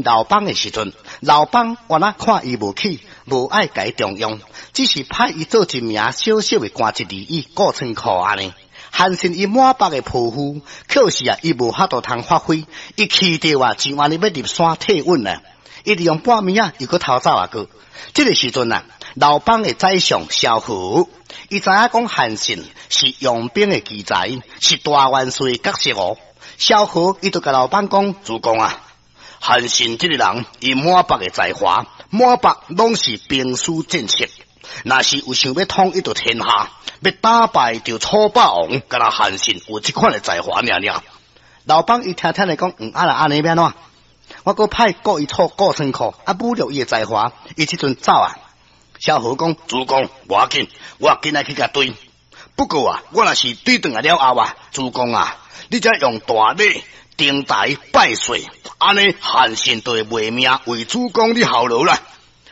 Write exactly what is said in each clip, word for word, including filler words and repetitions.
劉邦的時陣，劉邦原來看伊無起，無愛共伊重用，只是派伊做一名小小的官職而已，顧倉庫按呢。韓信伊滿腹的抱負，可是啊，伊無法度通發揮，伊氣著啊，就按呢欲入山退隱啊。伊利用半暝啊，又閣逃走啊閣。這个時陣啊，劉邦的宰相蕭何，伊知影講韓信是用兵的奇才，是大元帥的角色哦。蕭何伊就共劉邦講：主公啊，韓信這个人，伊滿腹的才華，滿腹攏是兵書戰策。若是有想欲統一著天下，欲打敗著楚霸王，敢若韓信有這款的才華爾爾。劉邦伊聽聽來講，嗯，啊若按呢欲按怎？我閣派顧伊做顧倉庫，啊，侮辱伊的才華，伊這陣走啊。蕭何講：主公，無要緊，我緊來去共追。不過啊，我若是追轉來了後啊，主公啊，你才用大禮登台拜謝，按呢韓信就會賣命為主公你效勞啦。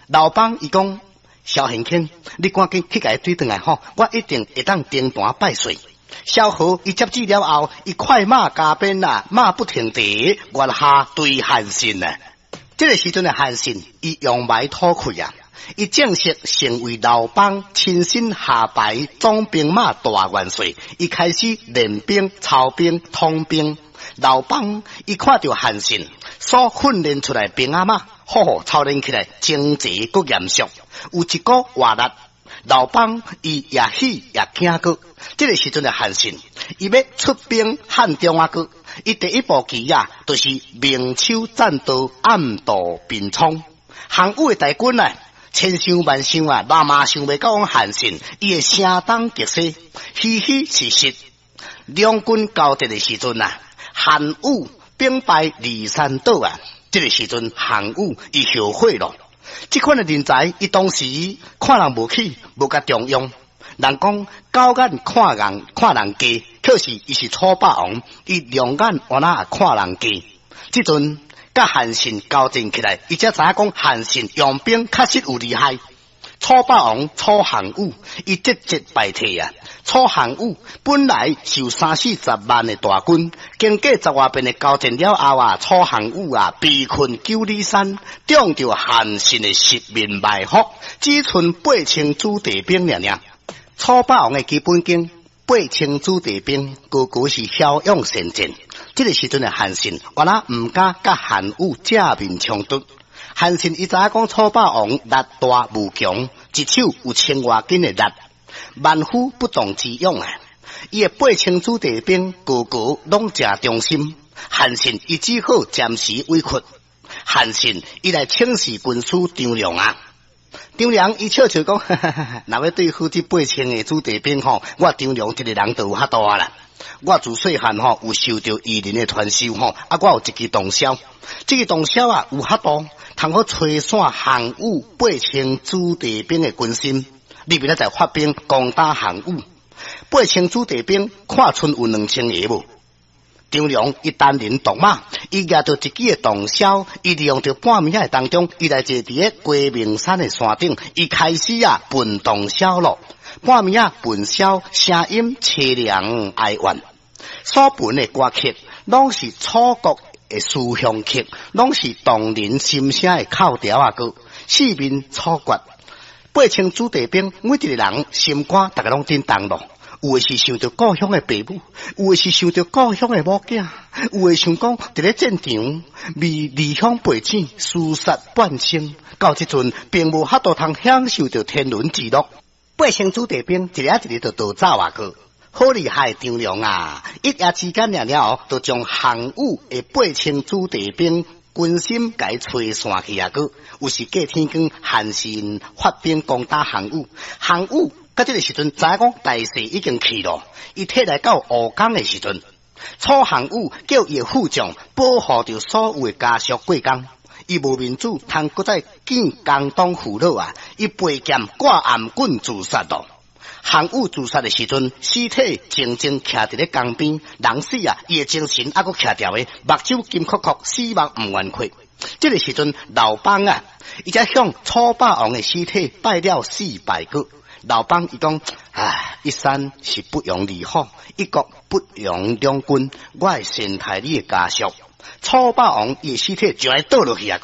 劉邦伊講：蕭賢卿，你趕緊去共伊追轉來吼，我一定會當登壇拜謝。蕭何伊接旨了後，伊快馬加鞭啊，馬不停蹄，月下追韓信啊。這个時陣的韓信，伊揚眉吐氣啊，伊正式成為劉邦親身下派總兵馬大元帥，伊開始練兵、操兵、統兵。劉邦伊看著韓信所訓練出來兵仔馬，好好操練起來整齊閣嚴肅，有一股活力。劉邦伊也喜也驚閣。這个時陣的韓信，伊欲出兵漢中啊閣，伊第一步棋啊，就是明修棧道，暗度陳倉。項羽的大軍啊，千想萬想啊，嘛嘛想袂到講韓信，伊會聲東擊西，虛虛實實。兩軍交戰的時陣啊，項羽兵敗驪山倒啊，這个時陣項羽伊後悔咯。這款的人才，伊當時看人無起，無共重用。人講狗眼看人看人低，可是伊是楚霸王，伊兩眼原來也看人低。這陣佮韓信交戰起來，伊才知影講韓信用兵確實有厲害。楚霸王楚項羽，伊節節敗退啊！楚項羽本來是有三四十萬的大軍，經過十外遍的交戰了後啊，楚項羽啊被困九里山，中著韓信的十面埋伏，只賰八千子弟兵爾爾。楚霸王的基本功，八千子弟兵，個個是驍勇善戰。這个時陣的韓信，原來毋敢佮項羽正面衝突。韓信伊知影講楚霸王力大無窮，一手有千外斤的力，萬夫不當之勇啊！伊的八千子弟兵個個攏誠忠心。韓信伊只好暫時委屈。韓信伊來請示軍師張良啊！張良伊笑笑講：若欲對付這八千个子弟兵吼，我張良一个人就有法度啊啦！我自細漢吼有受著異人的傳授吼，啊，我有一支洞簫，這个洞簫啊有法度通好吹散項羽八千子弟兵的軍心。你明仔載發兵攻打項羽，八千子弟兵看賰有兩千个無？張良伊單人獨馬，伊舉著一支的洞簫，伊利用著半暝仔當中，伊來坐佇咧雞鳴山的山頂，伊開始啊撥洞簫咯。半暝仔撥簫，聲音淒涼哀怨，所撥的歌曲攏是楚國的思鄉曲，攏是動人心聲的哭調仔歌，四面楚歌。八千子弟兵，每一个人心肝，逐个攏震動咯。有的是想著故鄉的爸母，有的是想著故鄉的某囝，有的想講佇咧戰場為離鄉背井，廝殺半生，到這陣並無法度通享受著天倫之樂。八千子弟兵一个一個就逃走啊閣，好厲害張良啊！一夜之間爾爾，就將項羽的八千子弟兵軍心共吹散去啊閣，有時過天光，韓信發兵攻打項羽，項羽到這个時陣知影講大勢已經去咯，伊退來到吳江的時陣，楚項羽叫伊的副將保護著所有的家屬過江，伊無面子通閣再見江東父老啊！伊背劍掛頷頸自殺咯。項羽自殺的時陣，屍體靜靜徛佇咧江邊，人死啊，伊的精神猶閣徛著的，目睭金睏睏，死目毋願開。這个時陣，劉邦啊，伊才向楚霸王的屍體拜了四拜閣。劉邦伊講：唉，一山是不容二虎，一國不容兩君，我會善待你的家屬。楚霸王伊的屍體就愛倒落去啊！